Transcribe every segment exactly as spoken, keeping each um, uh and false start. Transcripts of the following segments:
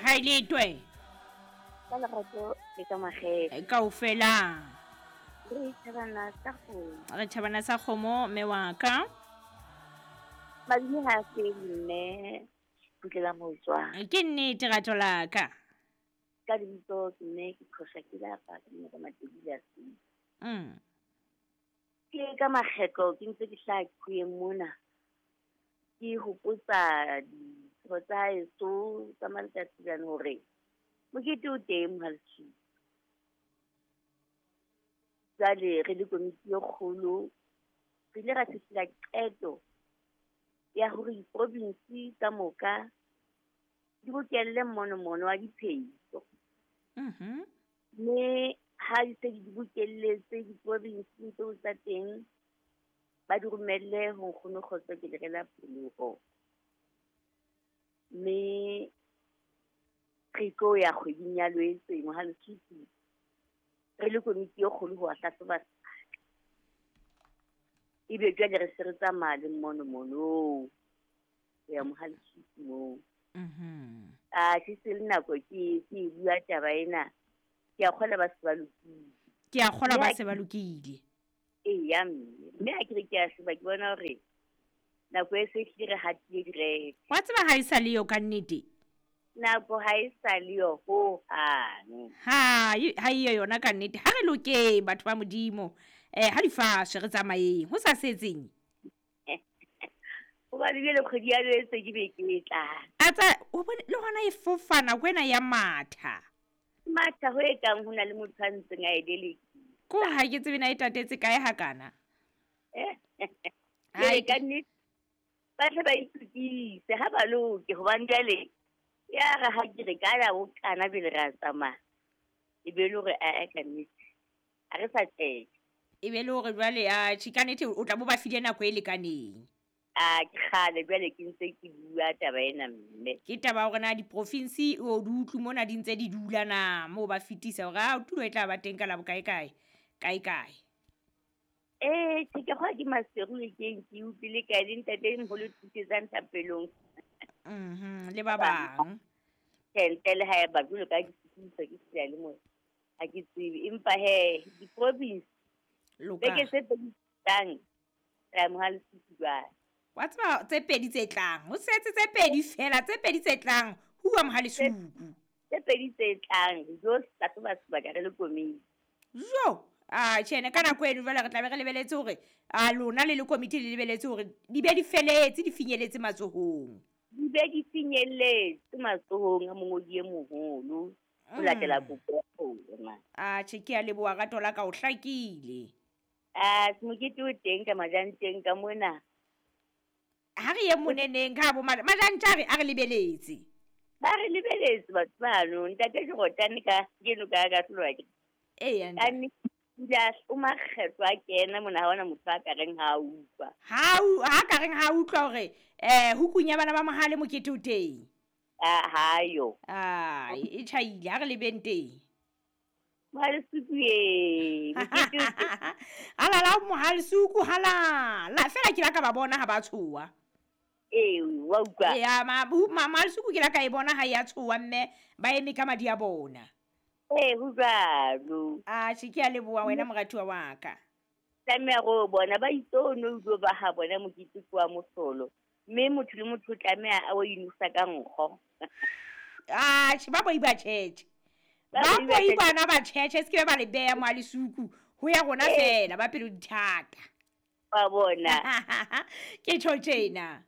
Ha ile twe. Ka lerato le ka makgethe. Kaofela. Re thabana sa kgomo. Re thabana sa kgomo mme wa ka. Madimo ha se mme putlela motswa. Ke nnete rato la ka. Ka lebitso ke mme ke qhosha ke lapa ke mme ka Matebele a se. Mm. Ke ka makgetlo ke ntse ke hlaha qhweng mona. Ke hopotsa ditho tsa heso tsa Malekatsilane hore mokete o teng Mohalesuku. Jwale re le komiti e kgolo re ile ra fihlela qeto ya hore diprovinsi ka moka di bokelle monomono wa diphehiso. Mhm. Mme ha di se di bokelletse diprovinsi tseo tsa teng ba di romelle ho Nkgono Kgotso ke lerela pholoho. Mme re tlo ya kgweding ya Loetse Mohalesuku re le komiti e kgolo ho hlahloba sebaka. Ebe jwale re se re tsamaya le monomono ho ya Mohalesuku moo. Mhm. A ke se le nako ke ke bua taba ena. Ke a kgolwa ba se ba lokile. Ke a kgolwa ba se ba lokile. Eya mme, mme ha ke re ke a sheba ke bona hore nako e se hlile re hatile direke. Wa tseba ha e sa le yo ka nnete? Nako ha e sa le yo hohang. Ha ha e yona ka nnete. Ha re lokeng batho ba Modimo. Eh ha di fashe re tsamayeng. Ho sa setseng. Hobane jwale kgwedi ya Loetse ke be ke e tlang. A tsa o bone le hona e fofana kwena ya matha. Matha ho e kang ho na le motho a ntseng a e delekisa. Ko ha ke tsebe na e tatetse kae hakana. Ai ka nnete ba tle ba itukise ha ba loke hobane jwale ya re ha ke re ka ya bokana pele re a tsamaya. E be le hore a ka nnete ha re sa tsheke. E be le hore jwale a tjhe ka nnete o tla bo ba file nako e lekaneng. A ke kgale jwale ke ntse ke bua taba ena mme. Ke taba hore na diprovinsi o di utlwe mona di ntse di dula na moo ba fetisa hore a tulo e tla ba teng ka la bokae kae kae kae. Eh ke ke kgwa ke Maseru e keng ke utlwile kae le ntate moholo thusetsang thapelong. Mhm le ba bang. Ntle le ha eba jwalo ka ke setsisa ke seyalemoya. Ha ke tsebe empa he diprovinsi loka. Beke tse pedi tlang ra Mohalesuku jwale. Wa tseba tse pedi tse tlang ho setse tse pedi fela tse pedi tse tlang huwa Mohalesuku. Tse pedi tse tlang jo hlahloba sebaka re le komiti. Jo a tjhene ka nako eno jwale re tla be re lebeletse hore a lona le le komiti le lebeletse hore di be di feletse di finyeletse matsohong. Di be di finyeletse matsohong a mongodi e moholo ho latela kopo ya rona. A tjhe ke a leboha rato la ka o hlakile. A mokete o teng ka majanteng ka mona. Ha re ye moneneng ka bo majantja re a re lebeletse. Ba re lebeletse batho bano ntate ke rotane ka keno ka ka hlolwa ke. Eya ntate. Ja o makgetlo a kena mona ha ona motho a ka reng ha utlwa. Ha ha ka reng ha utlwa hore eh hukunya bana ba Mohale mokete o teng. A ha yo. Ah e tjhaile ha re lebeng teng. Mohalesuku e mokete o teng. Halala Mohalesuku halala fela ke la ka ba bona ha ba tshoa. Ee wa utlwa. Ya ma Mohalesuku ke la ka e bona ha ya tshoa mme ba eme ka madi a bona. Eh ho jwalo. A tjhe ke a leboha wena moratuwa wa ka. Tlameha go bona ba itse no utlwe ba ha bona mokete wa mohlolo. Mme motho le motho tlameha a o inosa ka nkgo. Ah tjhe ba boi ba tjhetjhe. Ba boi bana ba tjhetjhe se ke ba le beha Mohalesuku ho ya rona fela ba pelo dithata. Ba bona. Ke tjho tjena.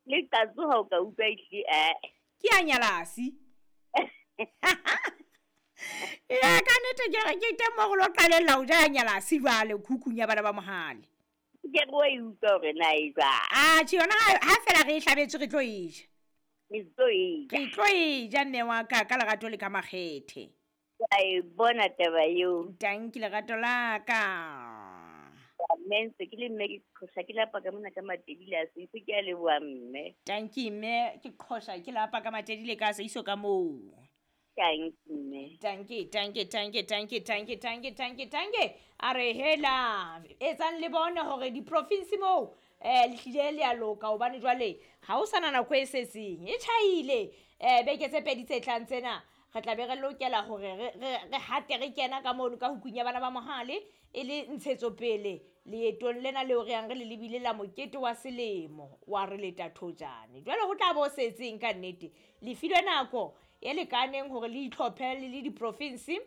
Le qatso ha o ka utlwa ihle eh. Ke a nyalasi. Ya ka nnete ke re ke teng mo go lo qalella ho ja nyalasi jwale khukhung ya bana ba Mohale. Ke re o e utlwa hore na e jwang. Ah tjhe yona ha fela re e hlabetswe re tlo e ja. Re tlo e ja. Re tlo e ja mme wa ka ka lerato le ka makgethe. Ke a e bona taba eo. Tanki lerato la ka. Mme ntse ke le mme ke qhosha ke lapa ka mona ka Matebele a Seiso ke a leboha mme. Tanki mme ke qhosha ke lapa ka Matebele ka Seiso ka moo. Tanki mme. Tanki tanki tanki tanki tanki tanki tanki tanki a re hela etsang le bone hore diprovinsi moo eh le hlile le a loka hobane jwale ha o sana nako e setseng e tjhaile um beke tse pedi tse tlang tsena re tla be re lokela hore re re hate re kena ka mono ka hukung ya bana ba mohale e le ntshetsopele leetong lena leo re yang re le lebile la mokete wa selemo wa re leta thojane. Jwale ho tla bo setseng ka nnete, le filwe nako e lekaneng hore le itlhophe le le diprofinsi.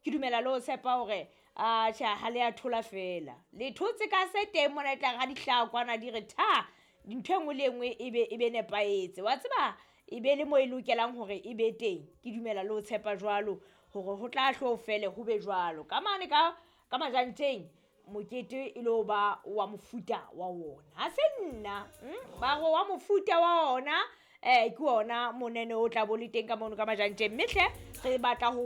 Ke dumela le ho tshepa hore atjhe ha le a thola fela, le thotse ka se teng mona e tla re ha di hlaha kwana di re tha, ntho e nngwe le e nngwe e be e be nepahetse. Wa tseba e be le mo e lokelang hore e be teng. Ke dumela le ho tshepa jwalo hore ho tla hlo fele ho be jwalo. Ka mane ka ka Majanteng mokete e lo ba wa mofuta wa ona. Ha se nna ba re wa mofuta wa ona eh ke ona monene o tla bo le teng ka mono ka Majanteng. Mme hle re batla ho